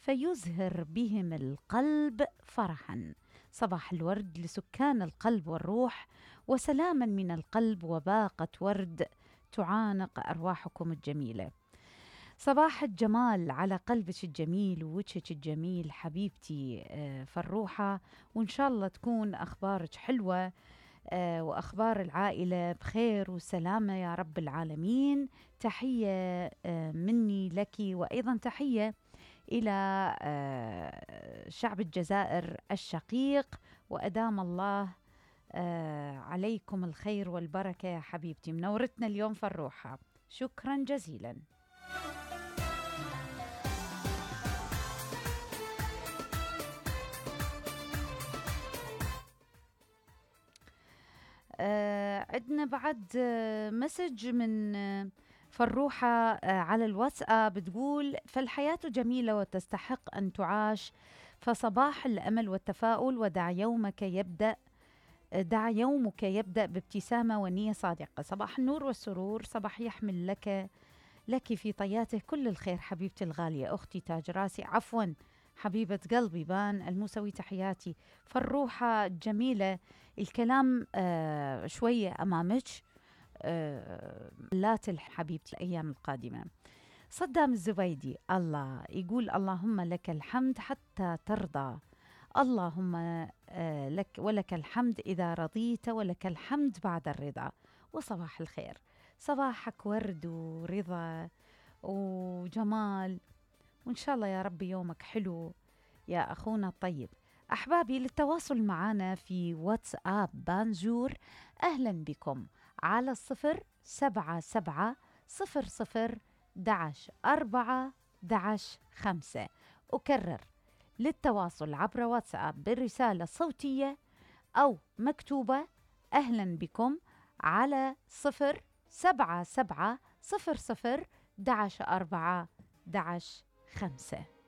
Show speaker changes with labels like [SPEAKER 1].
[SPEAKER 1] فيزهر بهم القلب فرحا. صباح الورد لسكان القلب والروح، وسلاما من القلب وباقة ورد تعانق أرواحكم الجميلة. صباح الجمال على قلبك الجميل ووجهك الجميل حبيبتي فروحة، وإن شاء الله تكون أخبارك حلوة وأخبار العائلة بخير وسلامة يا رب العالمين. تحية مني لك، وأيضا تحية إلى شعب الجزائر الشقيق، وأدام الله عليكم الخير والبركة يا حبيبتي. منورتنا اليوم فروحة، شكرا جزيلا. عندنا بعد مسج من فروحة على الواتساب، بتقول: فالحياة جميلة وتستحق أن تعاش، فصباح الأمل والتفاؤل، ودع يومك يبدأ بابتسامة ونية صادقة. صباح النور والسرور، صباح يحمل لك في طياته كل الخير حبيبتي الغالية، أختي تاج راسي، عفوا حبيبة قلبي بان الموسوي، تحياتي فالروحة جميلة. الكلام شوية أمامك، لا تلح حبيبتي الأيام القادمة. صدام الزبيدي الله يقول: اللهم لك الحمد حتى ترضى، اللهم لك ولك الحمد إذا رضيت، ولك الحمد بعد الرضا. وصباح الخير، صباحك ورد ورضا وجمال، وإن شاء الله يا رب يومك حلو يا أخونا الطيب. أحبابي، للتواصل معنا في واتساب بانجور أهلا بكم على 077-00-11-4-11-5. أكرر: للتواصل عبر واتساب بالرسالة الصوتية أو مكتوبة أهلا بكم على 077-00-11-4-11-5.